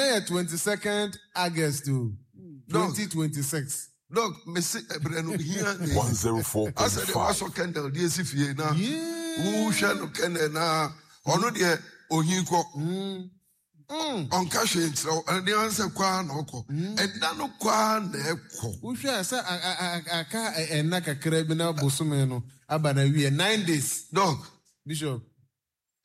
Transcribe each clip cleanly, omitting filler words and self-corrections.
Ɛnɛ yɛ 22nd August o, 2026. Doc, mese ɛberɛ no hia ne asɛ deɛ wasɔ candle de asi fie na wohwɛ no candle na ɔno deɛ ohi kɔ. Ɔnka hwee nkyerɛ wo, ɛno deɛ ansɛ kɔ ara na ɔkɔ. Ɛda no kɔ ara na ɛkɔ. Wohwɛ a sɛ aka ɛnna kakra bi na bosome no aba na wie, 9 days. Doc, Bishop.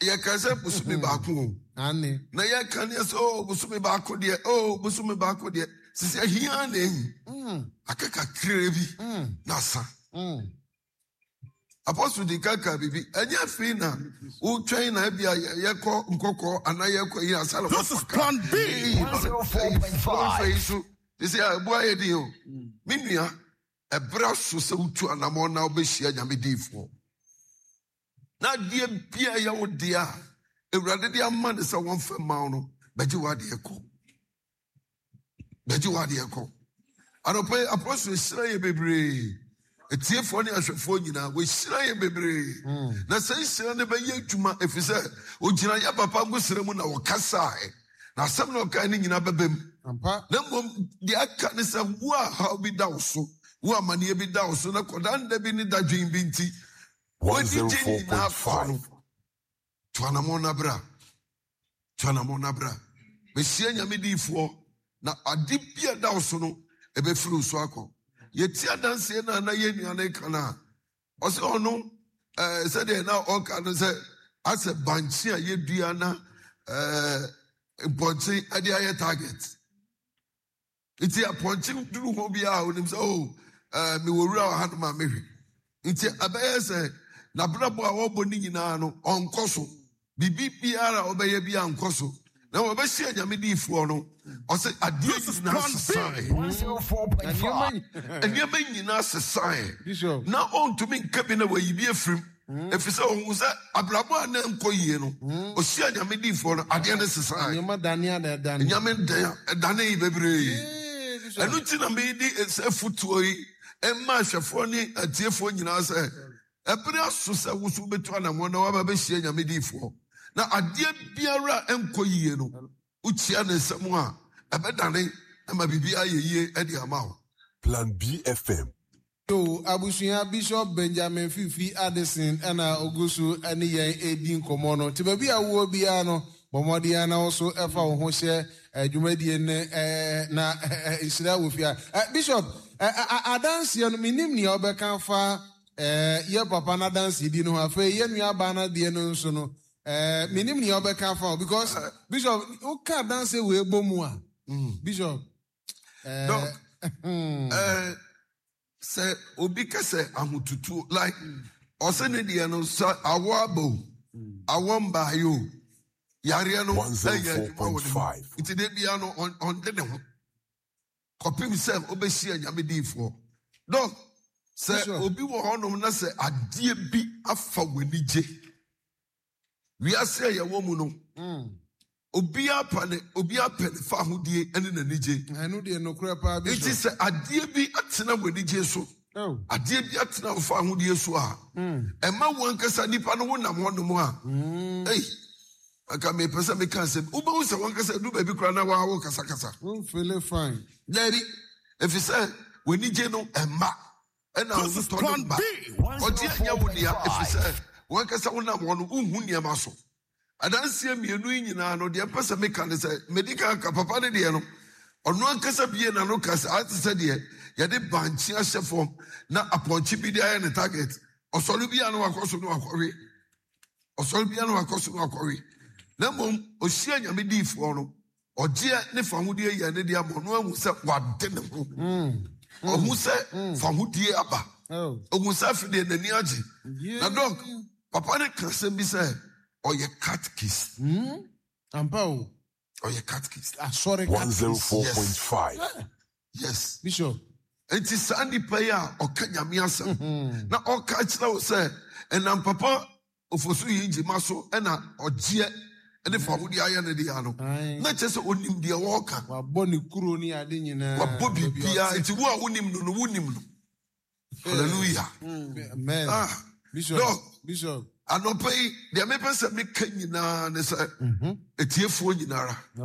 Yɛka sɛ bosome baako o. Ane. Na yɛka neɛ sɛ o bosome baako deɛ, o bosome baako deɛ, sisi ahia na ehi. Aka kakra bi na asa. Apostle di kaka biribi, ɛnyɛ afei na wotwɛn na ebi a yɛkɔ nkɔkɔ anaa yɛkɔ yi ansa na This is wɔfa Plan B. Wɔfa yi so sisi a ebu ayɛ din o. Me nua, ɛbrɛ so sɛ wotu anamɔ na wobɛhyia Nyame diifoɔ. Na adeɛ bia ɛyɛ wo deɛ a Awurade de ama ne sɛ wɔmfa mma wo no, bɛgye w'adeɛ kɔ. Bɛgye w'adeɛ kɔ. Anɔpa yi, apɔsoro hyira yɛ bebree. Atiefoɔ ne ahwɛfoɔ nyinaa, wɔahyira yɛ bebree. Na sɛ nhyira no bɛyɛ adwuma, ɛfiri sɛ ogyina yɛ papa ngosra mu na wɔkasaeɛ. Na asɛm na ɔkae no nyinaa bɛba mu. Na mmom deɛ aka ne sɛ wo a haw bi da wo so, wo amanneɛ bi da wo so, na kɔda nda bi ne dadwen bi nti, w'anigye nyinaa kɔ no. Tu anammɔn na bra. Tu anammɔn na bra. Bɛhyia Nyame diifoɔ na ade bi a ɛda wo so no, ɛbɛfiri wo so akɔ. Yɛti adanseɛ no a na yɛn nua no ka no a, ɔsɛ ɔno ɛɛ sɛdeɛ na ɔka no sɛ asɛ bankye a yɛdua na ɛɛ mpɔnkye de ayɛ target. Nti apɔnkye duru hɔ biara onim sɛ o ɛɛ mewɔ wura wɔ hanom a mehwɛ. Nti ɛbɛyɛ sɛ n'abrabɔ a ɔbɔ ne nyinaa no ɔnkɔ so. Biribi biara a ɔbɛyɛ bi ankɔ so. Na wɔbɛhyia Nyame diifoɔ no, ɔsɛ adeɛ nyinaa sesae. Nneɛma nyinaa sesae. Na ɔntumi nka bi na wayi bi afirim. Ɛfiri sɛ ɔhu sɛ abrabɔ a na ɛnkɔ yie no, ɔhyia Nyame diifoɔ no, adeɛ no sesae. Nneɛma dane a na ɛdane. Nneɛma dane bebree. Ɛno nti na mede sɛ fotuo yi ɛma ahwɛfoɔ ne atiefoɔ nyinaa sɛ ɛbere aso sɛ wo so wobɛtu anammɔn na woaba bɛhyia Nyame diifoɔ. Na adeɛ biara a ɛnkɔ yie no, wokyia ne nsɛm a ɛbɛdane ama biribi ayɛ yie de ama wo. Plan B FM. Yo, abusua, Bishop Benjamin Fifi Addison na ogu so ne yɛn redi nkɔmmɔ no. Nti baabi a wowɔ biara no, bɔ mmɔden ara na wo nso fa wo ho hyɛ dwumadie no na nhyira wɔ fie ha. Bishop, adanseɛ no, mennim nea wobɛka afa yɛ papa no adansedie no ho. Afei yɛ nuabaa no adeɛ no nso no, mennim nea wobɛka afa ho because Bishop, woka adanseɛ wei bɔ mu a, Bishop, Doc, sɛ obi ka sɛ ahotutuo like ɔsɛ ne deɛ no sɛ awɔ aba o, awɔ mbaayɛ o, yareɛ no ɛyɛ adwuma wɔ ne mu. Nti de bia no ɔnde ne ho kɔpem sɛ ɔbɛhyia Nyame diifoɔ. Doc, sɛ obi wɔ hɔnom na sɛ adeɛ bi afa w'ani gye, wiase a yɛwɔ mu no, obiara pa ne obiara pɛ ne fa ahodie ne n'anigye. Ɛno deɛ nokorɛ paa bi. Nti sɛ adeɛ bi atena w'anigye so, adeɛ bi atena wo fa ahodie so a, ɛma wo ankasa nipa no wonam hɔnom a, ei, anka mepɛ sɛ meka asɛm, wobɛhu sɛ wankasa du baabi koraa na waa wo kasakasa. Womfele fine. Daabi, ɛfiri sɛ w'anigye no ɛmma. Ɛna ahotɔ no mma. Ɔgye ɛnyɛ wo dea, ɛfiri sɛ wankasa wonam hɔ no wonhu nneɛma so. Adanseɛ mmienu yi nyinaa no, deɛ mpɛ sɛ meka ne sɛ, medi kan ka papa no deɛ no, ɔno ankasa bie n'ano ka sɛ ate sɛ deɛ yɛde bankye ahyɛ fam na apɔnkye bi de ayɛ ne target. Ɔsɔre bi a na wakɔ so na wakɔwe. Ɔsɔre bi a na wakɔ so na wakɔwe. Na mmom, ɔhyia Nyame diifoɔ no, ɔgyeɛ ne fahodie yɛ ne deɛ ama ɔno ahu sɛ wade ne ho. Ɔhu sɛ fahodie aba. Ɔhu sɛ afei deɛ n'ani agye. Na Doc, papa no ka asɛm bi sɛ ɔyɛ catechist. Ampa o. Ɔyɛ catechist. Asɔre catechist. 104.5. Yes. Bishop. Nti saa nipa yi a ɔka Nyame asɛm na ɔka kyerɛ wo sɛ ɛnam papa Ofosu yi gyima so ɛna ɔgyeɛ ɛne fahodie ayɛ ne deɛ no, na kyerɛ sɛ onim deɛ wɔreka. Wabɔ ne kuro ne ade nyinaa. Wabɔ biribiara. Nti wo a wonim no no, wonim no. Hallelujah. Amen. Ah, Bishop. Doc, Bishop. Anɔpa yi, deɛ mepɛ sɛ meka nyinaa ne sɛ, etiefoɔ nyinara.